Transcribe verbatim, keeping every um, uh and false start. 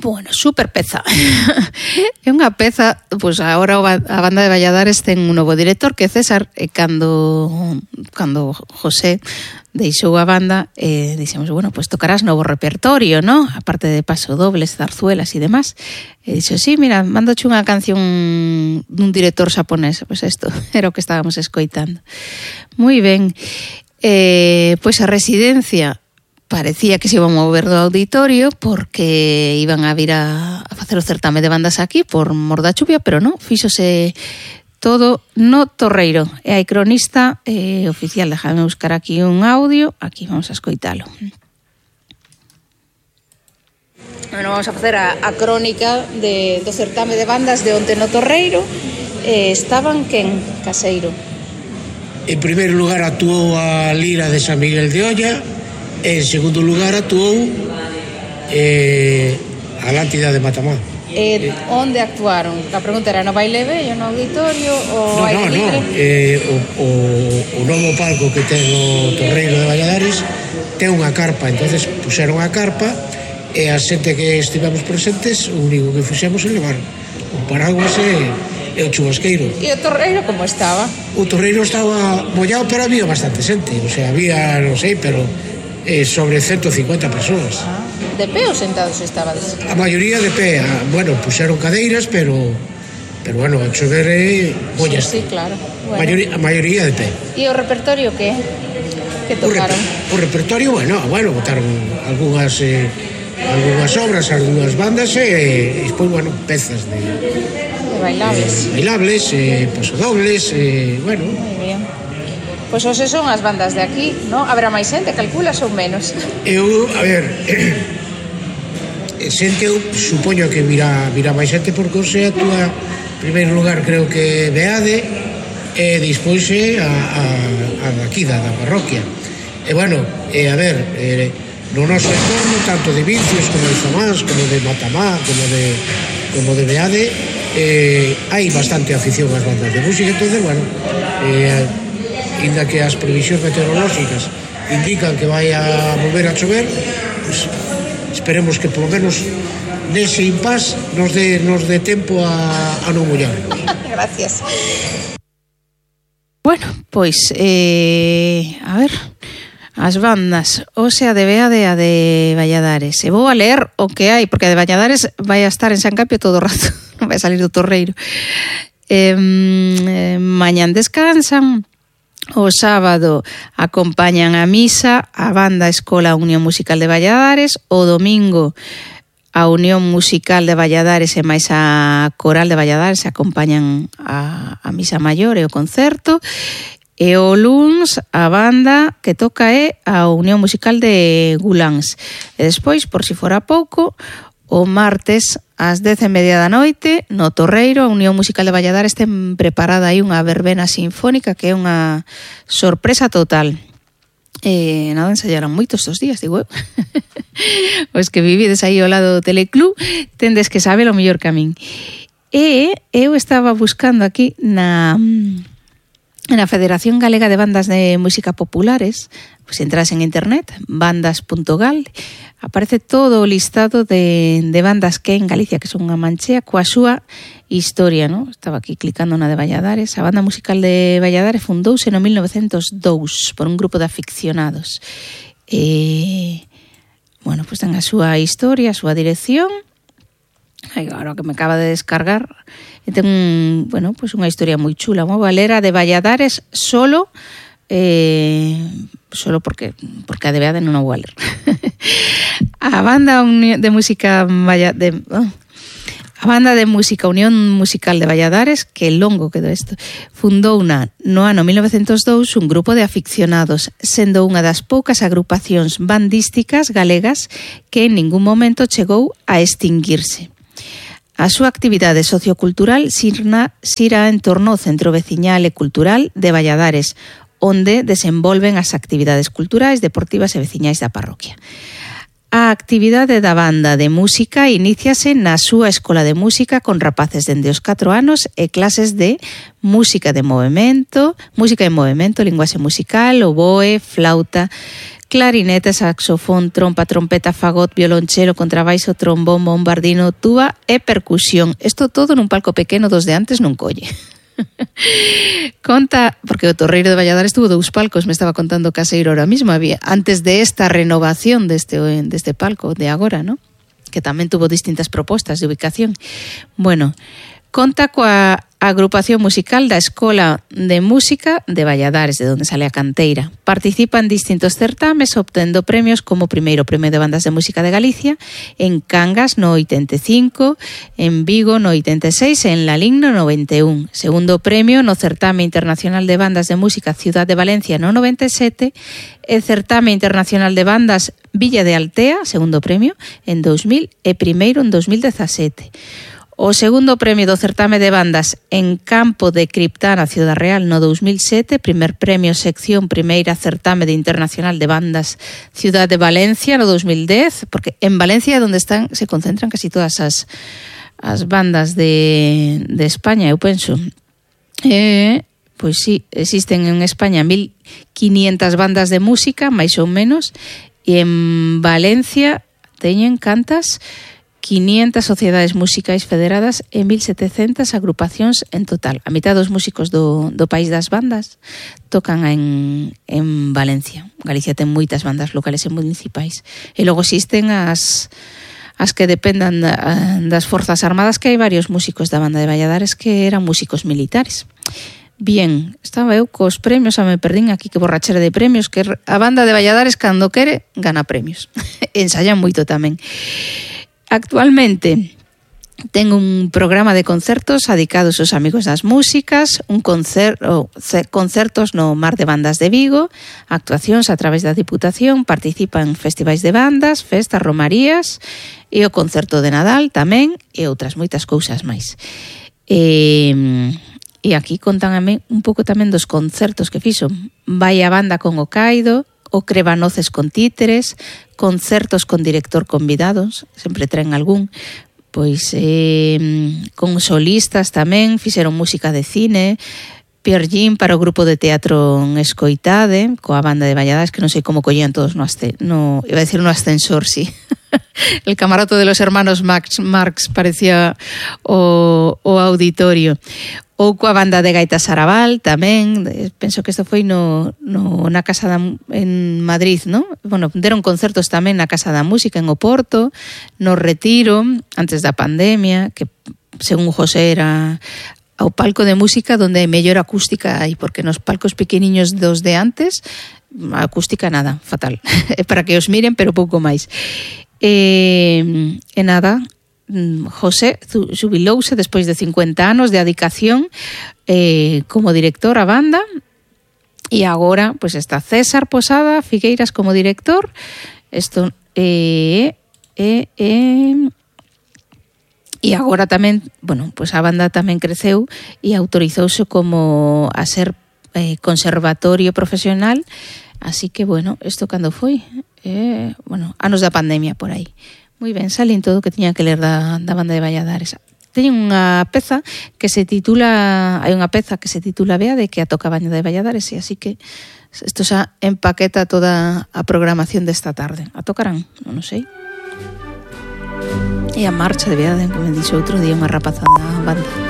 Bueno, super peza. É unha peza, pois agora a banda de Valladares ten un novo director que é César, e cando cando José deixou a banda, eh, dixemos, bueno, pois tocarás novo repertorio, ¿no? Aparte de pasodobles, zarzuelas e demás. E dixo, sí, mira, mandoche unha canción dun director xaponés. Pois isto era o que estábamos escoitando. Moi ben. Eh, pois a residencia parecía que se iban a mover do auditorio porque iban a vir a, a facer o certame de bandas aquí por mor da chuvia, pero non, fíxose todo no Torreiro. E hai cronista eh, oficial, déjame buscar aquí un audio, aquí vamos a escoitalo. Bueno, vamos a facer a, a crónica de, do certame de bandas de onte no Torreiro. Eh, estaban quen, Caseiro? En primeiro lugar actuou a Lira de San Miguel de Olla. En segundo lugar actuou eh, a Lántida de Matamá. Eh, onde actuaron? A pregunta era no baile vello, no auditorio ou no, aire no, libre? No, eh, o, o, o novo palco que ten o Torreiro de Valladares ten unha carpa, entonces puseron a carpa e a xente que estivemos presentes o único que fixemos é levar o paraguas e, e o chubasqueiro. E o Torreiro como estaba? O Torreiro estaba mollado, pero había bastante xente, o sea, había, non sei, pero eh, sobre ciento cincuenta persoas. Ah, de pé ou sentados estabades? A maioría de pé, a, bueno, puxeron cadeiras, pero pero bueno, a chover é mollas. Sí, sí, claro. Bueno. Maioría, a maioría de pé. E o repertorio que? Que tocaron? O, reper, o repertorio, bueno, bueno, botaron algunhas eh, algunhas obras, algunhas bandas e, e despois, bueno, pezas de de bailables. Eh, bailables, eh, pasodobles, eh, bueno. Moi bien. Pois pues ose son as bandas de aquí, non? Habrá máis xente, calculas ou menos? Eu, a ver, xente, eu supoño que virá, virá máis xente porque ose actúa, en primeiro lugar, creo que Beade, e despois é a, a, a daqui, da, da parroquia. E, bueno, e, a ver, eh, no noso entorno, tanto de Vincios como de Zamás, como de Matamá, como de, como de Beade, eh, hai bastante afición ás bandas de música, entonces, bueno, eh, inda que as previsións meteorolóxicas indican que vai a volver a chover, pues, esperemos que polo menos nese impás nos dé nos dé tempo a, a non mollar. Gracias. Bueno, pois eh, a ver, as bandas, o sea, de Beade a de Valladares. E vou a ler o que hai, porque a de Valladares vai a estar en San Capio todo o rato, non vai a salir do Torreiro. Eh, eh, mañán descansan. O sábado acompañan a misa a banda Escola Unión Musical de Valladares, o domingo a Unión Musical de Valladares e máis a Coral de Valladares acompañan a, a misa maior e o concerto, e o luns a banda que toca é a Unión Musical de Guláns. E despois, por si fora pouco, o martes ás dez e media da noite no Torreiro, a Unión Musical de Valladares ten preparada aí unha verbena sinfónica que é unha sorpresa total. Eh, nada, ensayaron moitos estos días, digo eu. Os que vivides aí ao lado do Teleclub tendes que saber o mellor que a min. E eu estaba buscando aquí na na Federación Galega de Bandas de Música Populares, pues entras en internet, bandas punto gal, aparece todo o listado de, de bandas que en Galicia, que son unha manchea, coa súa historia, ¿no? Estaba aquí clicando na de Valladares. A banda musical de Valladares fundouse no mil novecentos dous por un grupo de aficionados. E, bueno, pues ten a súa historia, a súa dirección. Ai, agora que me acaba de descargar, e ten un, bueno, pues unha historia moi chula, moi valera de Valladares solo, eh, solo porque porque a de Beade non o vou a ler. A banda de música de oh, a banda de música Unión Musical de Valladares, que longo quedou isto, fundou na no ano mil novecentos dous un grupo de aficionados, sendo unha das poucas agrupacións bandísticas galegas que en ningún momento chegou a extinguirse. A súa actividade sociocultural xira, xira en torno ao Centro Veciñal e Cultural de Valladares, onde desenvolven as actividades culturais, deportivas e veciñais da parroquia. A actividade da banda de música iníciase na súa escola de música con rapaces dende os catro anos e clases de música de movimento, música de movimento, linguaxe musical, oboe, flauta, clarinete, saxofón, trompa, trompeta, fagot, violonchelo, contrabaixo, trombón, bombardino, tuba e percusión. Isto todo nun palco pequeno dos de antes non colle. Conta, porque o Torreiro de Valladares tuvo dous palcos, me estaba contando Caseiro ahora mismo, había antes de esta renovación deste, deste palco de agora, ¿no? Que tamén tuvo distintas propostas de ubicación. Bueno, conta coa agrupación musical da Escola de Música de Valladares, de donde sale a canteira. Participa en distintos certames, obtendo premios como primeiro Premio de Bandas de Música de Galicia, en Cangas no oitenta e cinco, en Vigo no oitenta e seis e en Lalín no noventa e un. Segundo premio no Certame Internacional de Bandas de Música Ciudad de Valencia no noventa e sete, e Certame Internacional de Bandas Villa de Altea, segundo premio, en dos mil e primeiro en dos mil dezasete. O segundo premio do certame de bandas en Campo de Criptana, Ciudad Real, no dos mil sete, primer premio sección primeira certame de Internacional de Bandas Ciudad de Valencia no dos mil dez, porque en Valencia é onde están, se concentran casi todas as, as bandas de, de España, eu penso. Eh, pois sí, existen en España mil quinientas bandas de música, máis ou menos, e en Valencia teñen cantas quinientas sociedades musicais federadas e mil setecentas agrupacións en total. A mitad dos músicos do, do país das bandas tocan en, en Valencia. Galicia ten moitas bandas locales e municipais. E logo existen as, as que dependan da, das Forzas Armadas, que hai varios músicos da banda de Valladares que eran músicos militares. Bien, estaba eu cos premios, a me perdín aquí, que borrachera de premios, que a banda de Valladares, cando quere, gana premios. Ensayan moito tamén. Actualmente ten un programa de concertos dedicados aos amigos das músicas, un concerto, concertos no Mar de Bandas de Vigo, actuacións a través da Diputación, participa en festivais de bandas, festas, romarías e o concerto de Nadal tamén e outras moitas cousas máis. E, e aquí contan a mí un pouco tamén dos concertos que fixo. Vai a banda con o Caido, o Crebanoces con títeres, concertos con director convidados, sempre traen algún, pois eh, con solistas tamén, fixeron música de cine, Pierre Jean para o grupo de teatro Escoitade, coa banda de Valladares, que non sei como collían todos no, asce, no iba a decir no ascensor, sí. El camarote de los hermanos Max Marx parecía o, o auditorio. Ou coa banda de Gaitas Arabal tamén, penso que isto foi no, no, na Casa da, en Madrid, ¿no? Bueno, deron concertos tamén na Casa da Música en Oporto, no Retiro, antes da pandemia, que según José era ao palco de música donde hai mellor acústica hai, porque nos palcos pequeniños dos de antes, a acústica nada, fatal. É para que os miren, pero pouco máis. E, e nada, José xubilouse despois de cincuenta anos de adicación eh, como director a banda e agora pues, está César Posada Figueiras como director. Isto eh, eh, eh, e agora tamén, bueno, pues a banda tamén creceu e autorizouse como a ser eh, conservatorio profesional, así que bueno, isto cando foi? Eh, bueno, anos da pandemia por aí. Moi ben, salín todo o que tiña que ler da, da banda de Valladares. Teñen unha peza que se titula, hai unha peza que se titula Beade, que a toca a banda de Valladares, e así que isto xa empaqueta toda a programación desta tarde. A tocarán? Non sei. E a marcha de Beade, que me dixo outro día unha rapaza da banda.